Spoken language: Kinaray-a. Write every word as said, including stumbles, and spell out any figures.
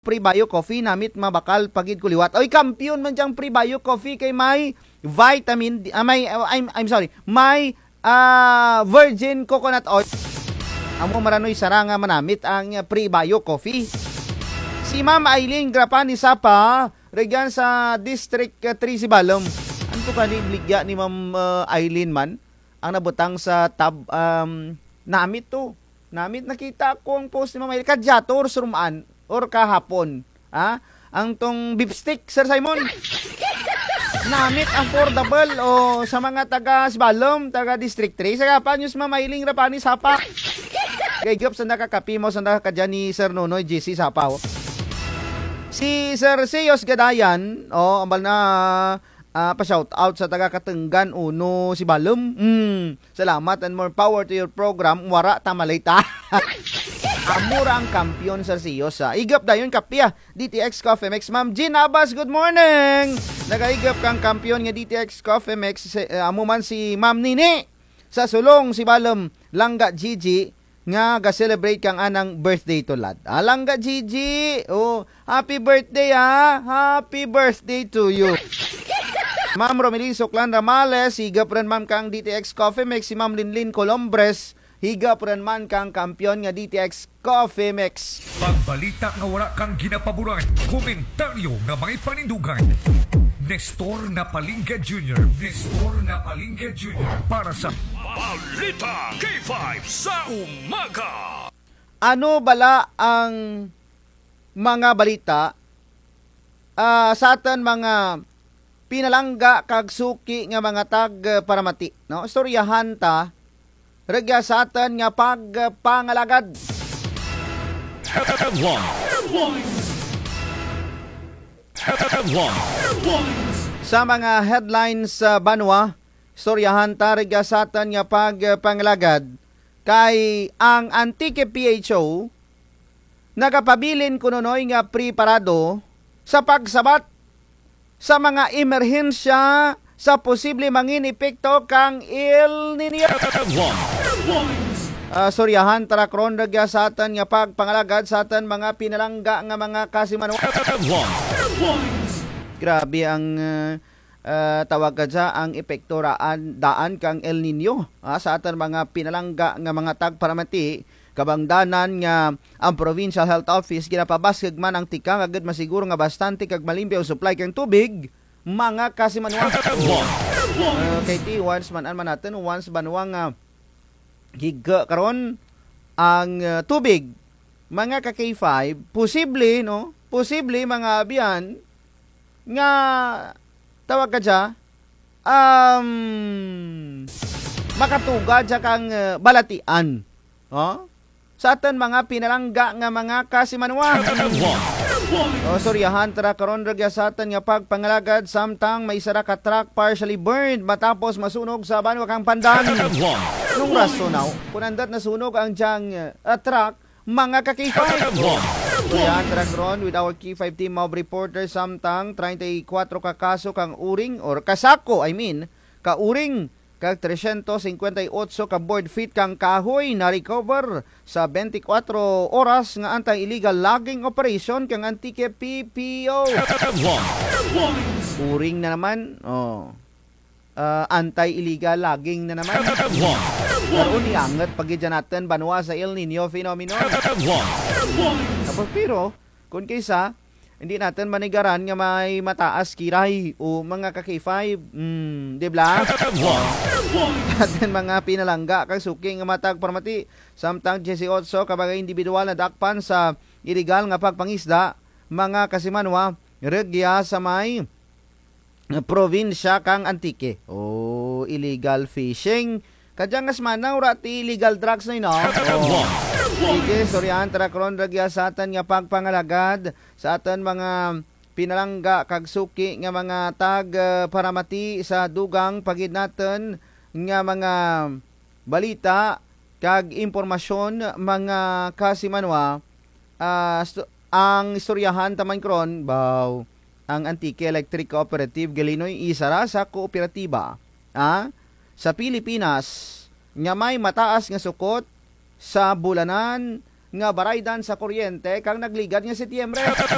Prebio Coffee, namit mabakal pa gid ko liwat. Oy, kampiyon man dyang Prebio Coffee kay may vitamin D, ah, may, ah, I'm, I'm sorry, may, ah, virgin coconut oil. Amo maranoy sara nga manamit ang, ah, Prebio Coffee. Si Ma'am Eileen Grapani Sapa, rugyan sa District, ah, three Sibalom. Anto kani baligya ni Ma'am, ah, Eileen man? Ang nabutang sa tab-, um, namit to. Namit, nakita ko ang post ni Ma'am Eileen. Kadya to or surumaan or kahapon. Ha? Ang tong beef stick, Sir Simon. Namit, affordable, o sa mga taga Sibalom, taga District three. Sa gapa news, Ma'am Eileen Grapani Sapa. Kay gap sa nakakapi mo, sa nakakadya ni Sir Nonoy G C Sapa, o. Si Sir Siyos Gadayan, o, ambal na, ah, pa-shout out sa taga Katenggan uno Sibalom. Mm, salamat and more power to your program. Wara ta malita. Amo ra ang kampiyon, Sir Siyos, ah. Igap dayon kape, ah. D T X Coffee Mix, Ma'am Jean Abas, good morning. Nagaigap kang kampiyon nga D T X Coffee Mix, si, eh, amo man si Ma'am Nini. Sa Sulong Sibalom, Langga Gigi, nga ga-celebrate kang anang birthday tulad. Ah, Langga Gigi, o, happy birthday, ha. Happy birthday to you. Ma'am Romelin Suklan Ramales, higap run man kang D T X Coffee Mix. Si Ma'am Linlin Colombres, higap run man kang kampiyon nga D T X Coffee Mix. Pagbalita nga wara kang ginapaboran, komentaryo nga may panindugan. Nestor Napalingga Junior, Nestor Napalingga Junior, para sa Balita K five sa umaga. Ano bala ang mga balita, ah, sa atun mga pinalangga kag suki nga mga tag-, ah, paramati, no? Istoryahan ta rugya sa atun nga pagpangalagad. Headlines. Headlines. Sa mga headlines sa banwa, istoryahan ta rugya sa atun nga pagpangalagad, kay ang Antique P H O nagapabilin kuno noy nga preparado sa pagsabat sa mga emerhensya sa posible mangin epekto kang El Niño. Ah, istoryahan ta ra karon rugya sa atun nga pagpangalagad sa atun mga pinalangga nga mga kasimanwa. Grabe ang, ah, ah, tawag kadya, ang epekto raan, daan kang El Niño, ah, sa atun mga pinalangga nga mga tagparamati, kabangdanan nga ang Provincial Health Office ginapabaskug man ang tikang agud masiguro nga bastante kag malimpyo ang supply kang tubig, mga kasimanwa. Ah, kay ti once man-an man natun, once banwa nga higa karon ang, ah, tubig, mga ka K five, posible, no? Posible, mga abyan, nga tawag kadya, um, makatuga dya kang, ah, balatian. O? Sa atun mga pinalangga nga mga kasimanwa. O, istoryahan ta ra karon rugya sa atun nga pagpangalagad samtang may sara ka truck partially burned matapos masunog sa banwa kang Pandan. Anong rason, aw? Kon andut nasunog ang dyang, ah, truck, mga ka K five. Istoryahan ta ra karon with our K five team of reporters samtang treinta y cuatro ka kaso kang uring or ka sako, I mean, ka uring kag tresyentos singkwenta y otso ka board feet kang kahoy na-recover sa bente kwatro oras nga anti-illegal logging operation kang Antique P P O. Uring na naman, o. Ah, anti-illegal logging na naman. Karon, iangut pa gid dyan natun banwa sa El Niño phenomenon. Tapos, pero, kon kaysa, indi natun manigaran nga may mataas kiray o mga ka K five. Hmm, di bala? Atun mga pinalangga kag suki nga matag paramati, samtang diyesiyotso ka mga indibidwal nadakpan sa iligal nga pagpangisda, mga kasimanwa, rugya sa may probinsya kang Antique. O, illegal fishing. Kadya nga semana, wara ti illegal drugs na, no? O. Sige, istoryahan ta ra karon rugya sa atun nga pagpangalagad sa atun mga pinalangga kag suki nga mga tag, ah, paramati sa dugang pa gid natun nga mga balita kag impormasyon, mga kasimanwa. Ah, sto-, ang istoryahan ta man karon, baw, ang Antique Electric Cooperative Galinoy isara sa kooperatiba, ah, sa Pilipinas nga may mataas nga sukot sa bulanan nga baraydan sa kuryente kang nagligad nga Setyembre.